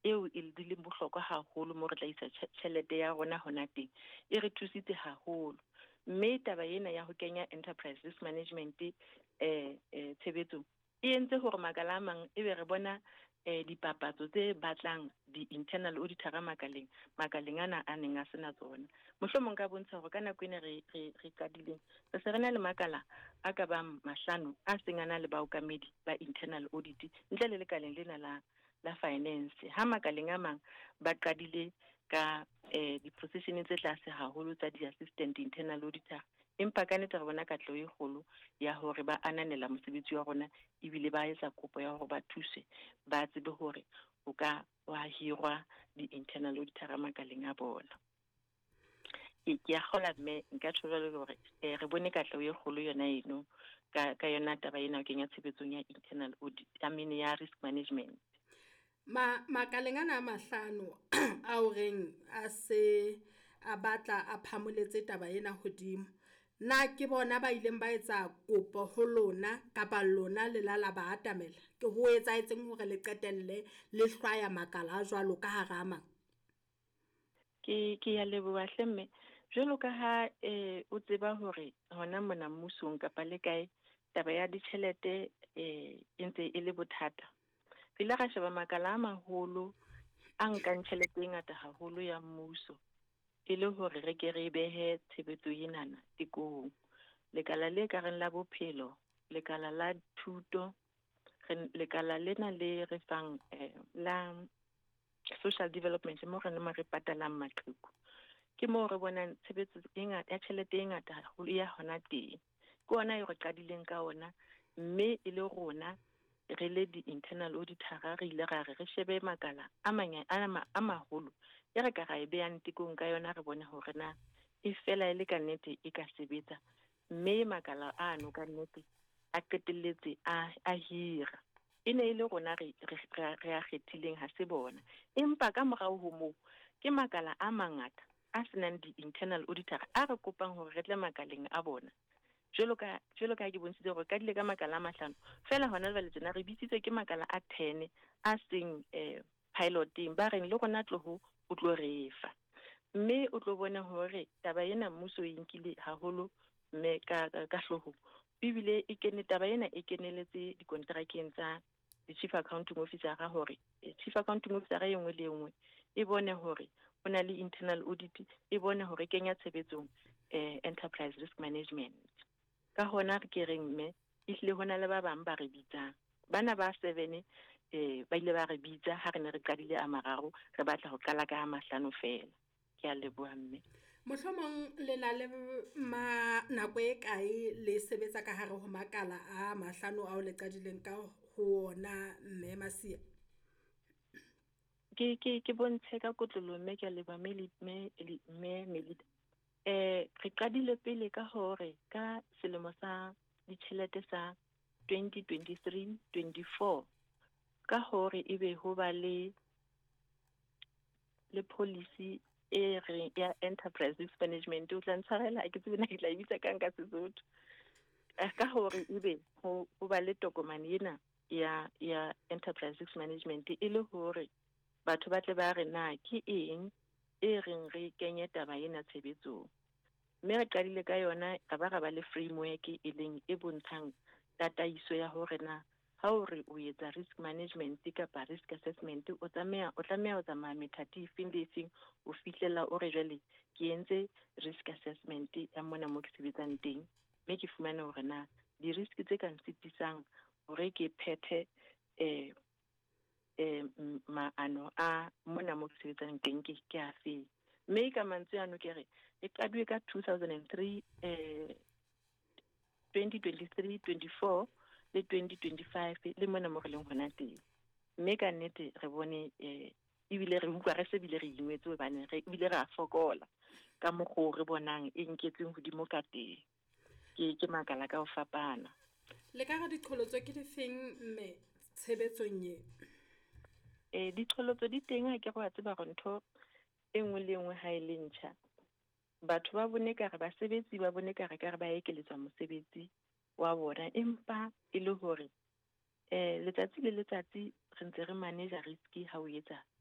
Eo e di leng bohlokwa haholo mo re tla isa tjhelete ya rona hona teng, e re thusitse haholo. Mme taba ena ya ho kenya enterprise risk management tshebetsong e entse hore makala a mang ebe re bona dipapatso tse batlang di-internal auditor makaleng ana a neng a sena tsona. Mohlomong ka bontsha hore ka nako ena re qadileng, re se re na le makala a ka bang 5 a seng a na le baokamedi ba internal audit ntle le lekaleng lena la finance. Ha makaleng a mang ba qadile ka di-position tse tlase haholo tsa di-assistant internal auditor, empa ka nnete re bona katleho e kgolo ya hore ba ananela mosebetsi wa rona, ebile ba etsa kopo ya hore ba thuse, ba tsebe hore o ka wa hirwa di-internal auditor makaleng a bona. Ke a kgola, mme nka tjho jwalo hore re bone katleho e kgolo yona eno ka yona taba ena ho kenya tshebetsong ya internal audit, I mean ya risk management. Makaleng ana a 5 a o reng a se a batla a phamoletse taba ena hodimo, na ke bona ba ileng ba etsa kopo ho lona kapa lona le la la ba atamela? Ke ho etsahetseng hore le qetelle le hlwaya makala a jwalo ka hara a mang? Ke ya leboha hle mme. Jwalo ka ha o tseba hore hona mona mmusong kapa le kae taba ya ditjhelete e ntse e le bothata. Re ile ra sheba makala a maholo a nkang tjhelete e ngata haholo ya mmuso, e le hore re ke re behe tshebetso enana tekong. Lekala le ka reng la bophelo, lekala la thuto, lekala lena le re fang la social development mo re neng re patalang maqheku. Ke moo re bonang tshebetso e ngata ya tjhelete e ngata haholo ya hona teng. Ke ona eo re qadileng ka ona, mme e le rona re le di-internal auditor re ile ra re re shebe makala a a maholo e re ka ra e behang tekong ka yona, re bone hore na e fela e le ka nnete e ka sebetsa. Mme makala ano ka nnete a qetelletse a hira. E ne e le rona re a kgethileng, ha se bona. Empa ka morao ho moo ke makala a mangata a senang di-internal auditor a re kopang hore re tle makaleng a bona. Jwalo ka ke bontshitse hore qadile ka makala a 5, fela hona jwale tjena re bitsitswe ke makala a 10 a seng piloteng, ba reng le rona tloho o tlo re fa. Mme o tlo bona hore taba ena mmuso e nkile haholo mme ka hloohong. Ebile e kene taba ena e keneletse dikontrakeng tsa di-chief accounting officer hore chief accounting officer e nngwe le e nngwe e bone hore o na le internal audit, e bone hore kenya tshebetsong enterprise risk management. Ka hona re ke reng mme ehlile hona le ba bang ba re bitsang. Bana ba 7 ba ile ba re bitsa ha re ne re qadile a 3, re batla ho qala ka a 5 fela. Ke a leboha mme. Mohlomong le na le nako e kae le sebetsa ka hare ho makala a 5 ao le qadileng ka ho ona mme Masia? Ke bontshe ka kotlolo mme ke a leboha mme Melita. Re qadile pele ka hore ka selemo sa ditjhelete sa 2023-24 ka hore ebe ho ba le policy e re ya enterprise risk management. O tla ntshwarela, ke tsebe na ke tla e bitsa kang ka Sesotho. Ka hore ebe ho ba le tokomane ena ya enterprise risk management, e le hore batho ba tle ba re na ke eng e reng re kenye taba ena tshebetsong. Mme re qadile ka yona, ra ba ra ba le framework e leng e bontshang tataiso ya hore na ha o re o etsa risk management kapa risk assessment, o tlameha ho tsamaya methati efeng le efeng o fihlela o re jwale ke entse risk assessment ya mona mo ke sebetsang teng, mme ke fumane hore na di-risk tse ka nsitisang hore ke phethe maano a mona mo ke sebetsang teng ke afe. Mme ka mantswe ano ke re e qadilwe ka 2003, 2023, 24 le 2025 le mona mo re leng hona teng. Mme ka nnete re bone ebile re utlwa re se bile re ingwetse hobane re ebile re a fokola ka mokgwa re bonang e nketseng hodimo ka teng. Ke makala ka ho fapana. Le ka re diqholotso ke difeng mme tshebetsong e? Diqholotso di teng, ha ke re wa tseba hore ntho e nngwe le nngwe ha e le ntjha, batho ba bone ka re basebetsi ba bone ka re ka re ba ekeletswa mosebetsi wa bona, empa e le hore letsatsi le letsatsi re ntse re manage risk ha o etsa